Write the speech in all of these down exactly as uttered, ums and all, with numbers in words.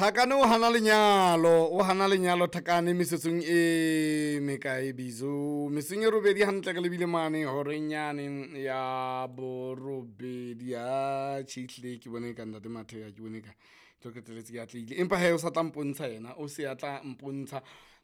Thakane o hana lenyalo, o hana lenyalo Thakane metsotsong e mekae Bizo? Metsong e robedi hantle re lebile mane horeng yane ya borobedi. A tjhe, ehlile ke bone ka ntate Mathe, ke bone ka tlo qetelletse ke atlehile, empa hee o sa tla mpontsha yena, o se a tla mpontsha.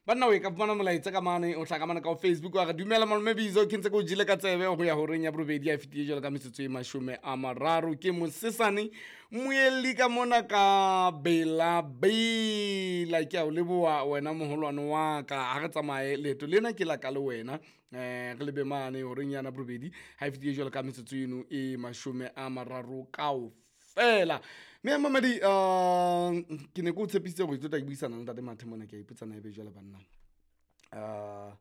Banna o e ka fumana molaetsa ka mane, o tla ka mane ka ho Facebook wa re dumela malome Bizo, ke ntse ke o jele ka tsebe ho ya horeng ya borobedi a fetile jwalo ka metsotso e mashome a mararo. Ke mosesane moelli ka mona ka Bela Bela, ke a o leboha wena moholwane wa ka. Ha re tsamaye leeto lena ke la ka le wena, eh re lebe mane horeng yana borobedi ha e fetile jwalo ka metsotso eno e mashome a mararo kaofela. Mme mamedi, um ke ne ke o tshepisitse hore ke tlo tla ke buisana le ntate Mathe mona, ke a ipotsa na ebe jwale banna uh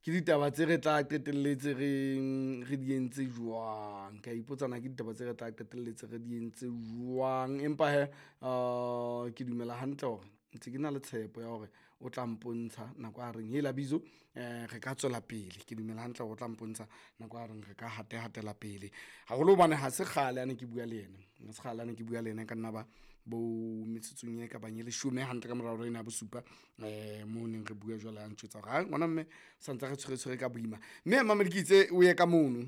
ke ditaba tse re tla qetelletse re re di entse jwang. Ke a ipotsa na ke ditaba tse re tla qetelletse re di entse jwang, empa he uh ke dumela hantle hore ntse ke na le tshepo ya hore o tla mpontsha nako a reng hela Bizo, eh re ka tswela pele. Ke dumela hantle hore o tla mpontsha nako a reng re ka hate hatela pele haholo, hobane ha se kgale a ne ke bua le yena, ha se kgale a ne ke bua le yena, e ka nna ba bo metsotsong e ka bang e leshome hantle ka mora hora ena ya bosupa, um moo neng re bua jwale a ntjwetsa hore ha ngwana mme santse re tshwere tshwere ka boima. Mme mamedi, ke itse o ye ka mono,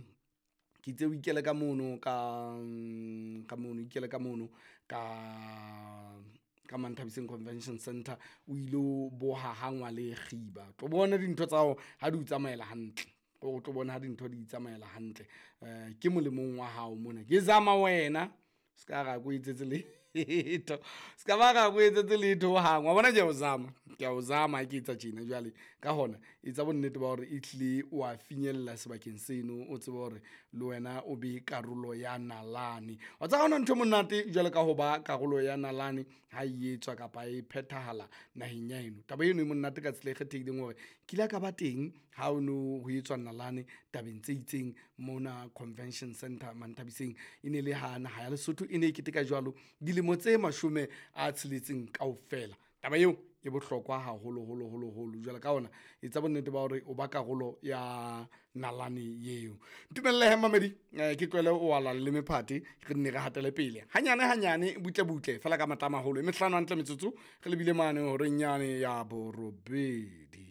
ke itse o ikele ka mono ka ka mono, ikele ka mono ka ka Manthabiseng Convention Center, o ilo boha hangwa le kgiba, tlo bona dintho tsa hao ha di o tsamaela hantle, o tlo bona ha dintho di tsamaela hantle. Um ke molemong wa hao mona, ke zama wena se ka ra ko etsetse letho, se ka ba ra ko etsetse letho hohang, wa bona ke a o zama, ke a o zama ha ke etsa tjena jwale. Ka hona etsa bonnete ba hore ehlile wa finyella sebakeng seno, o tsebe hore le wena o be karolo ya nalane. Wa tseba ha hona ntho e monate jwalo ka ho ba karolo ya nalane ha e etswa kapa e phethahala naheng ya heno. Taba eno e monate ka tsela e kgethehileng hore ke ile ka ba teng ha o no ho etswa nalane tabeng tse itseng mona Convention Center Manthabiseng. E ne le ha naha ya Lesotho e ne e keteka jwalo dilemo tse mashome a tsheletseng kaofela. Taba eo e bohlokwa haholo holo holo holo. Jwale ka hona etsa bonnete ba hore o ba karolo ya nalane eo. Ntumelle he mamedi, eh, ke tlohele o ala le mephate, re nne re hatele pele hanyane hanyane, butle butle fela ka matla a maholo. E mehlano hantle metsotso re lebile mane horeng yane ya borobedi.